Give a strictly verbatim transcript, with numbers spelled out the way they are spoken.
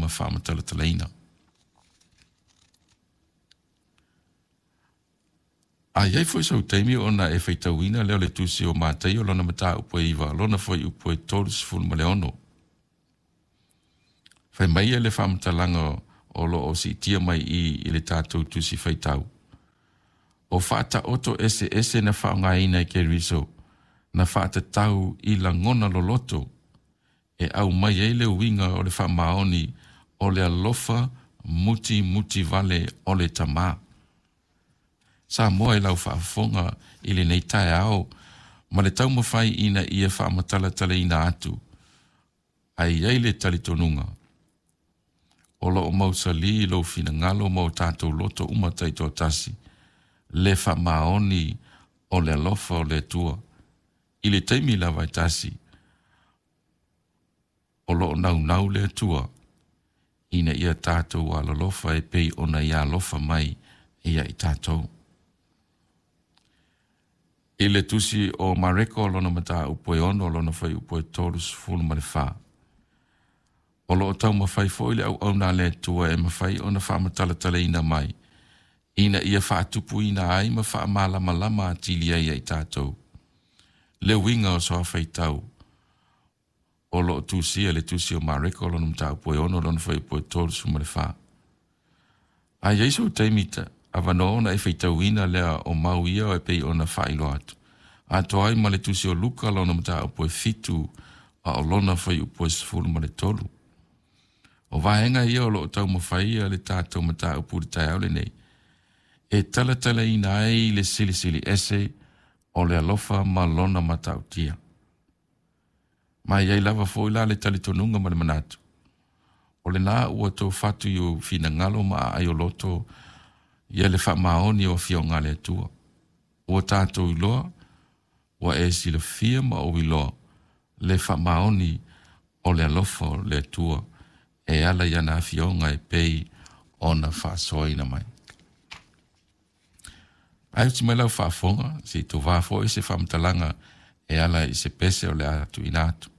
ma faamatalatalaina. A iai foi sou taimi ona e faitauina lea o le tusi o Mataio lona mataupu e iva lona fuaiupu e tolu ma le ono. Fai mai le faamatalaga o lo o siitia mai i i le tatou tusi faitau. O faataoto eseese na faaaogaina e Keriso na faatatau i lagona loloto e aumai ai le uiga o le faamaoni o le alofa muti muti vale o le Tamā. Samoa e lau faafofoga i lenei taeao ma le taumafai ina ia faamatalatalaina atu ai ai le talitonuga o lo o mausali lou finagalo ma o tatou loto uma taitoatasi le faamaoni o le alofa o le Atua i le taimi lava e tasi o lo o naunau le Atua ina ia tatou alolofa e pei ona ia alofa mai ia i tatou. I le tusi o Mareko lona mataupu e ono lona fuaiupu e tolu sefulu ma le fa. O lo o taumafai foi le auauna a le Atua e mafai ona faamatalatalaina mai ina ia faatupuina ai ma faamalamalama atili ai ia i tatou. Le uiga o soafaitau o lo o tusia le tusi o Mareko lona mataupu e ono lona fuaiupu e tolu ma le fa. A iai sou taimi ta avanoa ona e faitauina lea o mau ia e pei ona faailoa atu. Atoa ai ma le tusi o Luka lona mataupu e fitu a o lona fuaiupu e sefulu ma le tolu. O vaega ia o lo o taumafai le tatou mataupu i le taeao lenei. E talatalaina ai le silisili ese o le alofa ma lona matautia. Ma iai lava foi la le talitonuga ma le manatu. O lena ua toufatu i ou finagalo ma aai o loto ia le faamaoni o afioga a le Atua. Ua tatou iloa, ua e silafia ma ou iloa le faamaoni o le alofa o le Atua e ala i ana afioga e pei ona faasoaina mai. Ae uti mai lau faafofoga, se i tovā foi se faamatalaga e ala i se pese o le a tuuina atu.